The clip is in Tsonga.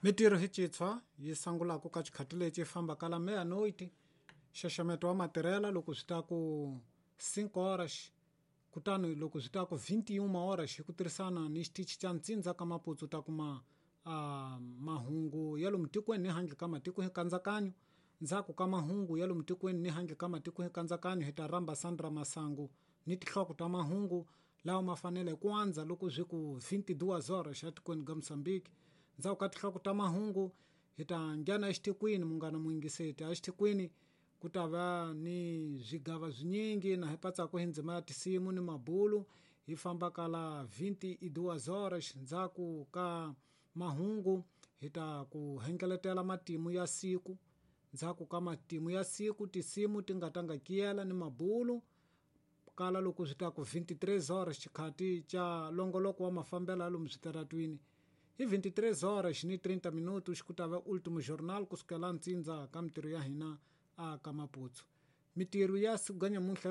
Mitirho hi citshwa yi sangulaku ka xikhati lexi fambaka la meia-noite, nxaxameto wa matirhela loko swi ta ku 5 horas, kutani loko swi ta ku 21 horas hi ku tirhisana ni xitichi xa ntsindza ka Maputsu ta kuma mahungu ya lomu tikweni ni handle ka matiko hi kandzakanyo. Ndzhaku ka mahungu ya lomu tikweni ni handle ka matiko hi kandzakanyo hi ta rhamba Sandra Masangu ni tinhloko ta mahungu lawa ma fanele ku andza loko swi ku 22 horas xa tikweni ga Mozambique. Ndzhaku ka tinhloko ta mahungu hi ta nghena exitikweni munghana muyingiseti exitikweni ku ta va ni swigava swinyingi na hi patsaku hi ndzima ya tinsimu ni mabulu hi famba kala 22 horas. Ndzhaku ka mahungu hi ta ku hengeletela matimu ya siku. Ndzhaku ka matimu ya siku tinsimu ti nga ta nga kiyela ni mabulu kala loko swi ta ku 23 horas xikhati xa longoloko wa mafambelo ya lomu switaratwini. Hi 23 horas ni 30 minutos ku ta va ultimo jornal kusukela ntsindza ka mitirho ya hina a ka Maputsu. Mitirho ya siku ga nyamuntlha.